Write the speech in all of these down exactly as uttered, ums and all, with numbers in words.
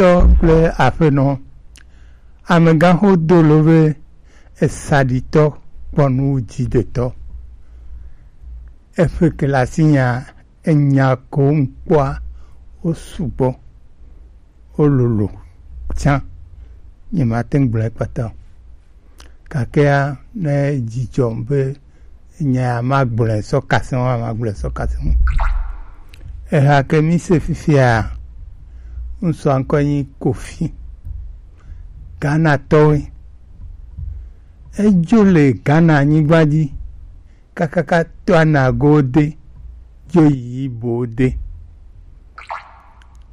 Tɔ kple aƒenɔ, amegãxo do lo be esaɖitɔ kpɔ nu wu dzidetɔ. Eƒe kelasi nya enya ko ŋkpɔa, wo sugbɔ, wo lolo tsã. Nyemate ŋu gblɔe kpata o. Gakea, ne dzidzɔ be nya ya magblɔe sɔ kase ŋu, magblɔe sɔ kase ŋu. Eha ke mi se fifia, ŋsɔa ŋkɔ nyi Kofi. Ghana tɔwoe. Edzo le Ghana anyigba dzi kakaka to anago de, dzo yi bo de.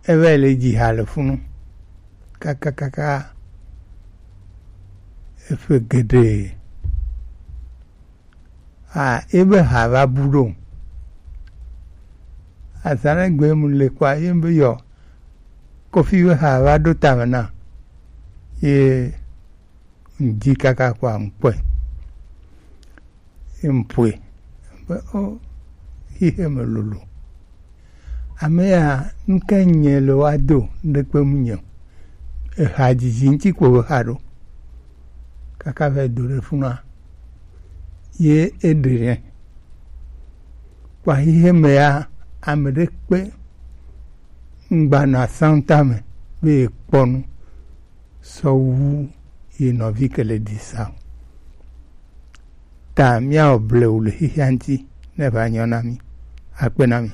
Eva le dzi ha le funu. Kakakaka eƒe geɖe. A, ebe ha va bu ɖo. Azã ɖe gbe mu le kɔa, ye be yɔ Kofi be ha va ɖo tame na. Ye ŋdi kaka kɔa ŋkpɔe. Ye ŋƒoe. Be, o, xixe me lolo. Ame ya, nu ka nye le wa do, ŋɖekpe mu nye o. Eha dzidzi ŋuti ko be xa ɖo. Kaka va do ɖe funua. Ye eɖe nɛ. Kpɔ xixe me ya, ame ɖe kpe ŋgba nɔ asanta me be yekpɔ nu sɔ wu ye nɔvi ke le ɖi sa o. Ta míawɔ blewu le xexea ŋuti ne va nyɔ na mí. Akpe na mi.